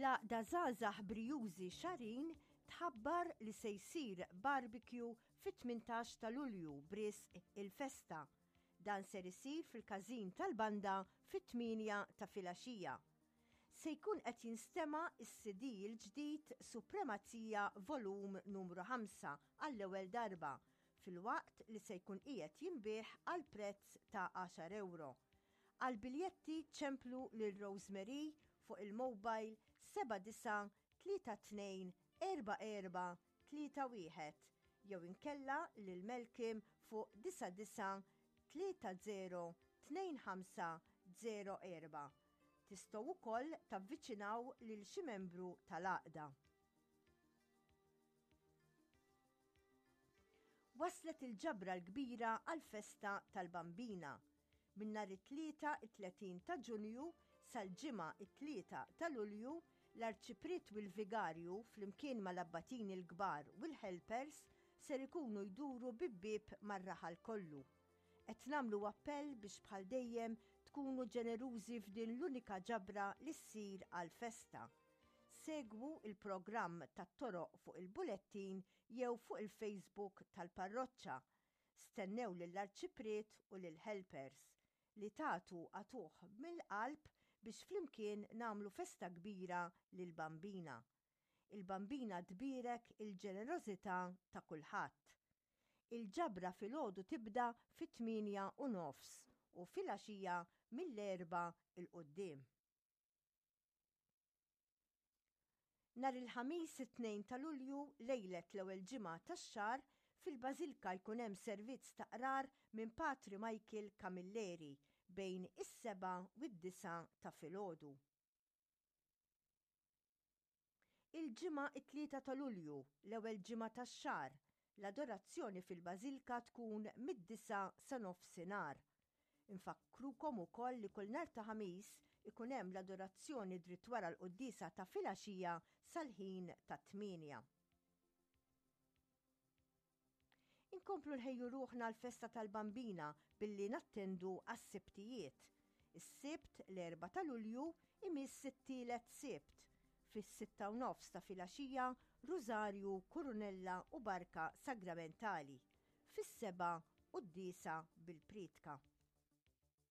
L-Għaqda Żgħażagħ Brijużi Xagħrin tħabbar li se jsir barbecue fit-18 ta' Lulju b'risq il-festa. Dan ser isir fil-każin tal-banda fit-tmienja ta' filgħaxija. Se jkun qed jinstema' s-CD l-ġdid Supremazija Volum Numru 5 għall-ewwel darba, filwaqt li se jkun qiegħed jinbiegħ għal prezz ta' għaxar ewro. Għall-biljetti ċemplu lil Rosemary fuq il-mobile 7932 44 31 jew inkella lil Malcolm fuq 99 30 25 04. Tistgħu wkoll tavviċinaw lil xi membru tal-għaqda. Waslet il-ġabra l-kbira għall-festa tal-Bambina. Minn nhar it-Tlieta it-30 ta' Ġunju sal-Ġimgħa it-3 ta' Lulju, l-Arċipriet u l-Vigarju flimkien mal-abbatini l-kbar u l-helpers ser ikunu jduru bieb bieb mar-raħal kollu. Qed nagħmlu appell biex bħal dejjem tkunu ġenerużi f'din l-unika ġabra li ssir għall-festa. Segwu l-programm tat-toroq fuq il-bulettin jew fuq il-Facebook tal-parroċċa. Stennew lill-Arċipriet u lill-helpers. Li tagħtu agħtuh mill-qalb biex flimkien nagħmlu festa kbira lill-Bambina. Il-Bambina tbierek il-ġenerożità ta' kulħadd. Il-ġabra filgħodu tibda fit-tmienja u nofs u filgħaxija mill-erbgħa 'l quddiem. Nhar il-Ħamis it-2 ta' Lulju, lejlet l-ewwel ġimgħa tax-xahar, fil-Bażilka jkun hemm servizz ta' qrar minn Patri Michael Camilleri bejn is-sebgħa u d-disgħa ta' filgħodu. Il-Ġimgħa it-3 ta' Lulju, l-ewwel ġimgħa tax-xahar, l-adorazzjoni fil-Bażilka tkun mid-disgħa sa nofsinhar. Infakkrukom ukoll li kull nhar ta' Ħamis ikun hemm l-adorazzjoni dritt wara l-quddiesa ta' filgħaxija sal-ħin tat-tmienja. Inkomplu nħejju ruħna għall-festa tal-Bambina billi nattendu għas-Sibtijiet. Is-Sibt l-4 ta' Lulju imiss it-tielet Sibt. Fis-sitta u nofs ta' filgħaxija Rużarju, Kurunella u Barka Sagramentali. Fis-sebgħa quddiesa bil-prietka.